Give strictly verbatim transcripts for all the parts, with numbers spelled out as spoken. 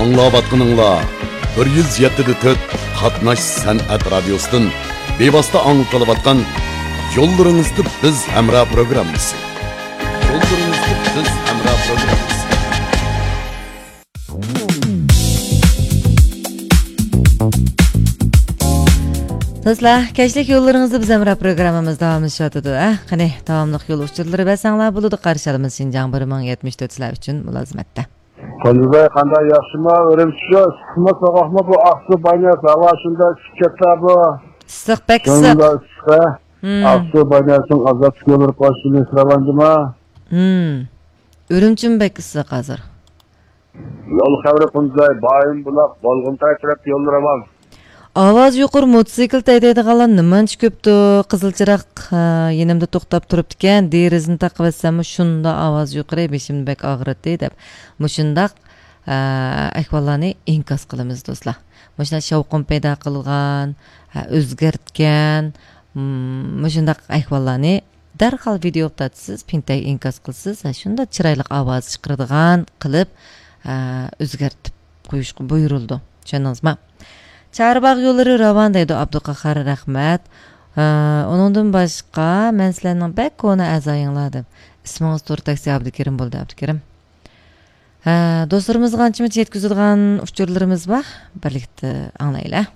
ئاڭلاۋاتقىنىڭلار بىر يۈز يەتتە دە تۆت قاتناش سەنئەت رادىيوسىدىن بىۋاسىتە ئاڭلىتىلىۋاتقان يوللىرىڭىزدا بىز ھەمراھ پروگراممىسى. يوللىرىڭىزدا بىز ھەمراھ پروگراممىسى. دوستلار، كەچلىك يوللىرىڭىزدا بىز ھەمراھ پروگراممىمىز داۋاملىشىۋاتىدۇ، ھە؟ قېنى، داۋاملىق يول ئۇچۇرلىرى بەرسەڭلار بولىدۇ، قارشى ئالىمىز شىنجاڭ بىر مىڭ يەتمىش تۆت سىلەر ئۈچۈن مۇلازىمەتتە. قۇندۇزباي، قانداق، ياخشىما؟ ئۈرۈمچى شۇ، ئىسسىقمۇ، سوغۇقمۇ بۇ ئاقسۇ باينەس؟ ھاۋا شۇنداق ئىسسىپ كەتتى بۇ. ئىسسىق، بەك ئىسسىق. شۇنداق ئىسسىق. ھىم. ئاقسۇ باينەسنىڭ ئازادلىق يوللىرى قوشۇنى سىلەۋاندىما؟ ھىم. ئۈرۈمچىمۇ بەك ئىسسىق ھازىر. يول خەۋىرى قۇندۇزباي، بايىن بۇلاق، بولغۇنتاي تەرەپتە يوللىرى ئامان. ئاۋازى يۇقىرى موتوسىكلىت ھەيدەيدىغانلار نېمانچە كۆپتۇ؟ قىزىل چىراغ، ھە، يېنىمدا توختاپ تۇرۇپتىكەن، دېرىزىنى تاقىۋەتسەممۇ شۇنداق ئاۋاز يۇقىرى، بېشىمنى بەك ئاغرىتتى دەپ، مۇشۇنداق، ھە، ئەھۋاللارنى ئىنكاس قىلىمىز، دوستلار. مۇشۇنداق شاۋقۇن پەيدا قىلغان، ھە، ئۆزگەرتكەن، مم، مۇشۇنداق ئەھۋاللارنى دەرھال ۋىدېئوغا تارتىسىز، پىنتەك ئىنكاس قىلىسىز، ھە، شۇنداق چىرايلىق ئاۋاز چىقىرىدىغان قىلىپ، ھە، ئۆزگەرتىپ قويۇشقا بۇيرۇلىدۇ. چۈشەندىڭىزمۇ؟ چارباغ يوللىرى راۋان دەيدۇ ئابدۇقاھار، رەھمەت. ھە، ئۇنىڭدىن باشقا، مەن سىلەرنىڭ بەك كونا ئەزايىڭلار دەپ. ئىسمىڭىز تور تاكسى ئابدۇكېرىم بولدى، ئابدۇكېرىم. ھە، دوستلىرىمىزغا ئانچە-مۇنچە يەتكۈزىدىغان ئۇچۇرلىرىمىز بار. بىرلىكتە ئاڭلايلى.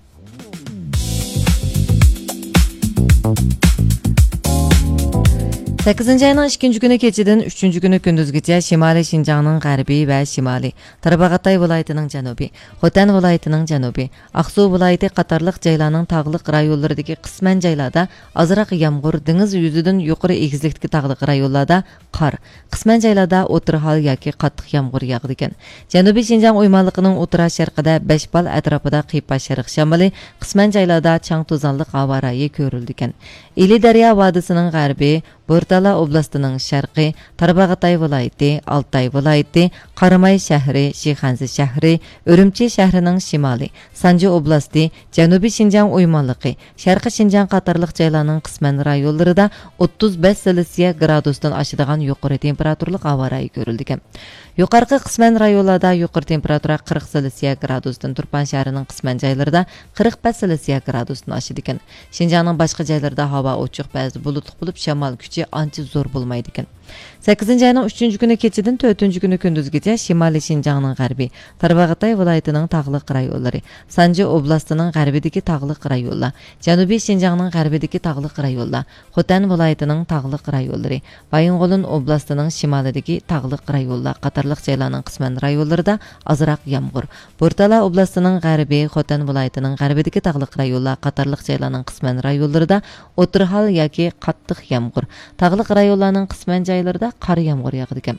سەككىزىنچى ئاينىڭ ئىككىنچى كۈنى كېچىدىن ئۈچىنچى كۈنى كۈندۈزگىچە شىمالىي شىنجاڭنىڭ غەربىي ۋە شىمالىي، تارباغاتاي ۋىلايىتىنىڭ جەنۇبىي، خوتەن ۋىلايىتىنىڭ جەنۇبىي، ئاقسۇ ۋىلايىتى قاتارلىق جايلارنىڭ تاغلىق رايونلىرىدىكى قىسمەن جايلاردا ئازراق يامغۇر، دېڭىز يۈزىدىن يۇقىرى ئېگىزلىكتىكى تاغلىق رايونلاردا قار، قىسمەن جايلاردا ئوتتۇرا ھال ياكى قاتتىق يامغۇر ياغىدىكەن. جەنۇبىي شىنجاڭ ئويمانلىقىنىڭ ئوتتۇرا شەرقىدە بەش بال ئەتراپىدا قىيپاش شەرق شامىلى، قىسمەن جايلاردا چاڭ توزانلىق ھاۋا رايى كۆرۈلىدىكەن. ئىلى دەريا ۋادىسىنىڭ غەربى، بورتالا ئوبلاستىنىڭ شەرقى، تارباغاتاي ۋىلايىتى، ئالتاي ۋىلايىتى، قاراماي شەھىرى، شىخەنزە شەھىرى، ئۈرۈمچى شەھىرىنىڭ شىمالى، سانجى ئوبلاستى، جەنۇبىي شىنجاڭ ئويمانلىقى، شەرقىي شىنجاڭ قاتارلىق جايلارنىڭ قىسمەن رايونلىرىدا ئوتتۇز بەش سېلسىيە گرادۇستىن ئاشىدىغان يۇقىرى تېمپېراتۇرىلىق ھاۋا رايى كۆرۈلىدىكەن. يۇقارقى قىسمەن رايونلاردا يۇقىرى تېمپېراتۇرا قىرىق سېلسىيە گرادۇستىن، تۇرپان شەھىرىنىڭ قىسمەن جايلىرىدا قىرىق بەش سېلسىيە گرادۇستىن ئاشىدىكەن. شىنجاڭنىڭ باشقا جايلىرىدا ھاۋا ئوچۇق، بەزىدە بۇلۇتلۇق بولۇپ، شامال كۈچى ئانچە زور بولمايدىكەن. سەككىزىنچى ئاينىڭ ئۈچىنچى كۈنى كېچىدىن تۆتىنچى كۈنى كۈندۈزگىچە شىمالىي شىنجاڭنىڭ غەربى، تارباغاتاي ۋىلايىتىنىڭ تاغلىق رايونلىرى، سانجى ئوبلاستىنىڭ غەربىدىكى تاغلىق رايونلار، جەنۇبىي شىنجاڭنىڭ غەربىدىكى تاغلىق رايونلار، خوتەن ۋىلايىتىنىڭ تاغلىق رايونلىرى، بايىنغولىن ئوبلاستىنىڭ شىمالىدىكى تاغلىق رايونلار قاتارلىق جايلارنىڭ قىسمەن رايونلىرىدا ئازراق يامغۇر، بورتالا ئوبلاستىنىڭ غەربى، خوتەن ۋىلايىتىنىڭ غەربىدىكى تاغلىق رايونلار قاتارلىق جايلارنىڭ قىسمەن رايونلىرىدا ئوتتۇرا ھال ياكى قاتتىق يامغۇر، تاغلىق رايونلارنىڭ قىسمەن جايلىرىدا قار يامغۇر ياغىدىكەن.